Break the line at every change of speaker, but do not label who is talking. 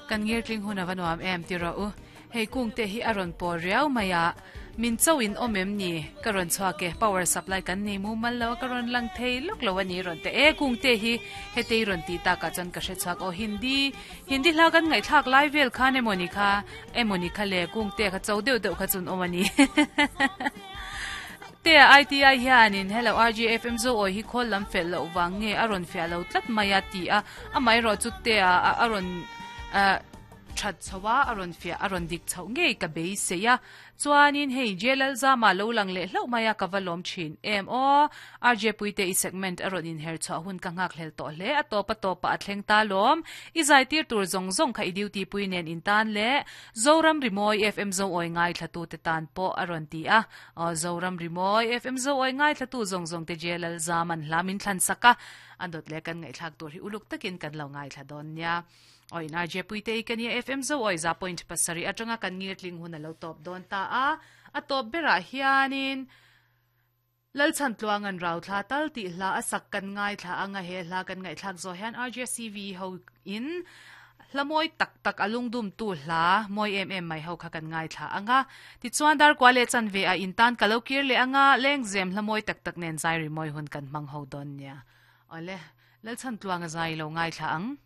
Kan ngirtling hun a va nuam em ti rawh u. Hei kung te hi a rawn paw riau mai a, min cho in awm em ni? Ka rawn chhuak e, power supply kan nei mumal lo a, ka rawn lang thei lawk lo a ni rawn ti e, kung te hi hetei rawn tih takah chuan ka hre chhuak aw Hindi Hindi hla kan ngaihthlak lai vel khan emawni kha emawni kha le kung te kha cho deuh deuh kha chun awm a ni. Te ITI hianin hello RGFM zo awi hi khawl lam fel loh vang nge a rawn fiah lo tlat mai a ti a, amaherawh chu te a a rawn that chho a, a rawn fiah a rawn dik chhoh ngei ka beisei a. Chuanin hei J-Lalzama lo lang leh hlauh mai a ka va lawm thin em aw. RJ Puite i segment a rawn inher chhuah hun ka nghak hlel tawh hle a tawp a tawpah a thleng ta lawm. I zaitir tur zawng zawng kha i duty pui nen in tan leh Zoram Rimawi FM Zoawi ngaithlatute tan pawh a rawn ti a. Aw Zoram Rimawi FM Zoawi ngaithlatu zawng zawng te J-Lalzaman hla min thlan sak a, a dawt leh kan ngaihthlak tur hi uluk takin kan lo ngaithla dawn nia. Aw in RJ Puite i ka nia FM Zoawi za point pasarih atanga kan ngirtling hun a lo tawp dawn ta a, a tawp berah hianin Lalchhan Tluangan rau thla tal tih hla a sak kan ngaithla anga he hla kan ngaihthlak zawh hian RJCV ho in hla mawi tak tak a lungdumtu hla mawi em em mai ho kha kan ngaithla anga tichuan darkua leh chanve ah in tan ka lo kir leh anga lengzem hla mawi tak tak nen zai rimawi hun kan hmang ho dawn nia. Awle Lalchhan Tluanga zai lo ngaithla ang.